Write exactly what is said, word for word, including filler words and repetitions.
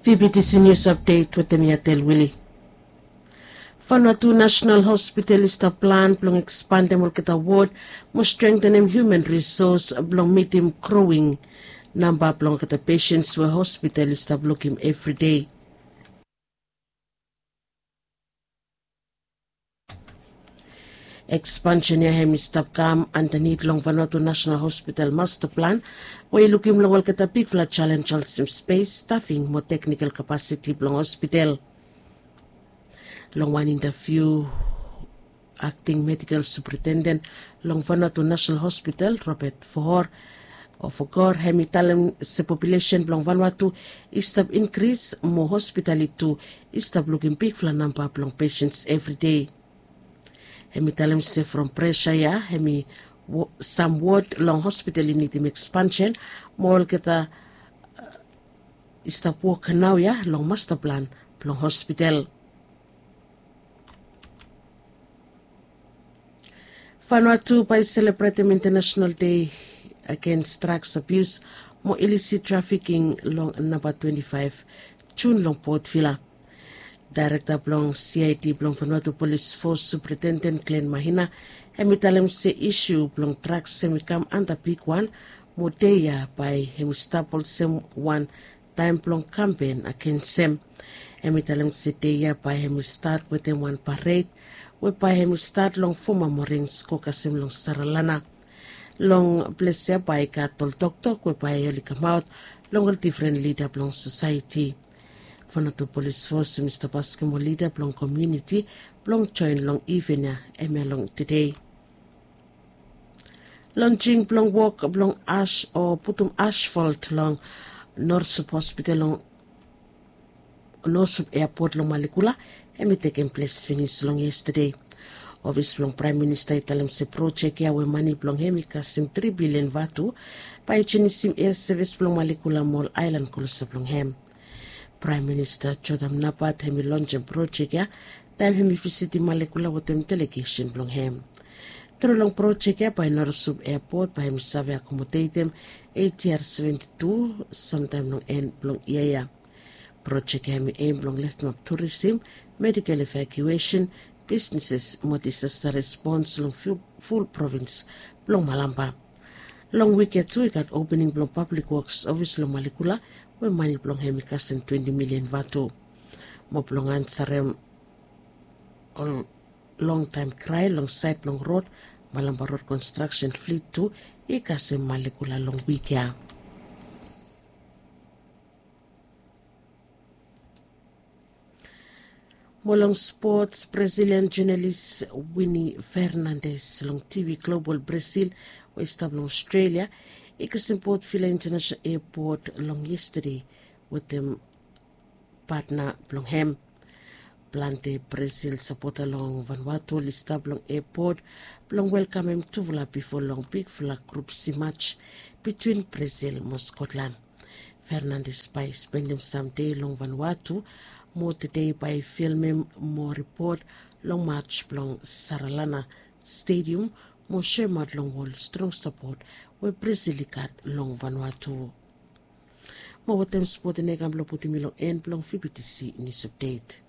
Vbtc News Update wetem mi Atel Willie. Vanuatu National Hospital i stap plan blong ekspandem olgeta wod mo strengtenem hiuman risos blong mitim growing namba blong olgeta pesens we hospital i stap lukim evri dei. Ekspansen ya hem i stap kam andanit long Vanuatu National Hospital masta plan we i lukim long olgeta bigfala jalenj olsem spes, stafing mo teknikal kapasiti blong hospital. Long wan intaviu, akting medikal superintenden long Vanuatu National Hospital, Robert Fohor, o Fogor, hem i talem se populesen blong Vanuatu i stap inkris mo hospital i tu i stap lukim bigfala namba blong pesens evri dei. Hem i talem se from presa ya hem i, sam wod long hospital i nidim ekspansen mo olgeta i stap wok naoia long masta plan blong hospital. Vanuatu bae i selebretem International Day Against Drugs Abuse mo Illicit Trafficking long namba twenti faef Jun long Port Vila. Daerekta blong C I D blong Vanuatu Polis Fos Superintendent Glen Mahina hem i talem se isu blong drugs hem i kam anda bigwan mo dei ya bae hem i stap olsem wan taem blong kampen agensem. Hem i talem se dei ya bae hem i stat wetem wan pared we bae hem i stat long foma morings go kasem long Saralana. Long ples ya bae i gat ol toktok we bae oli kamaot long ol difren lida blong sosaeti. Vanuatu Polis Fos hem i stap askem ol lida blong komuniti blong joen long iven ya, hemia long tede. Lonjing blong wok blong as o putum asfalt long Norsup Hospital long Norsup Airport long Malekula hem i tekem ples finis long yestade. Ofis blong Praem Minista i talem se projek ya we mane blong hem i kasem tri bilian vatu bae i jenisim air sevis blong Malekula mo ol aelan klosap long hem. Praem Minista Jotham Napat hem i lonjem projek ya taem hem i visitim Malekula wetem delegesen blong hem. Tru long projek ya bae Norsup Airport bae hem i save akomodetem ATR seventi tu samtaem long en blong yia ya. Projek ya hem i em blong leftemap turisim, medikel evakuesen, bisneses mo disasta respons long ful provins blong Malampa. Long wik ya tu i gat opening blong Pablik Woks ofis long Malekula we mane blong hem i kasem twenti milian vatu. Mo blong ansarem ol longtaem krae long saed blong rod, Malampa Rod Konstraksen Flit tu i kasem Malekula long wik ya. Mo long spots, Brazilian jonalis Winnie Fernandes long TV Global Brazil we i stap long Australia i kasem Port Vila International Airport long yestade wetem patna blong hem. Plante Brazil sapota long Vanuatu oli stap long airport blong welkamem tufala bifo long bigfala grup C match bitwin Brazil mo Scotland. Fernandes bae i spendem sam dei long Vanuatu mo tede bae i filmem mo ripot long match blong Saralana Stadium mo soemaot long wol strong sapot we Brazil i gat long Vanuatu. Mo wetem spot ya nao i kam blong putum mi long en blong VBTC News Update.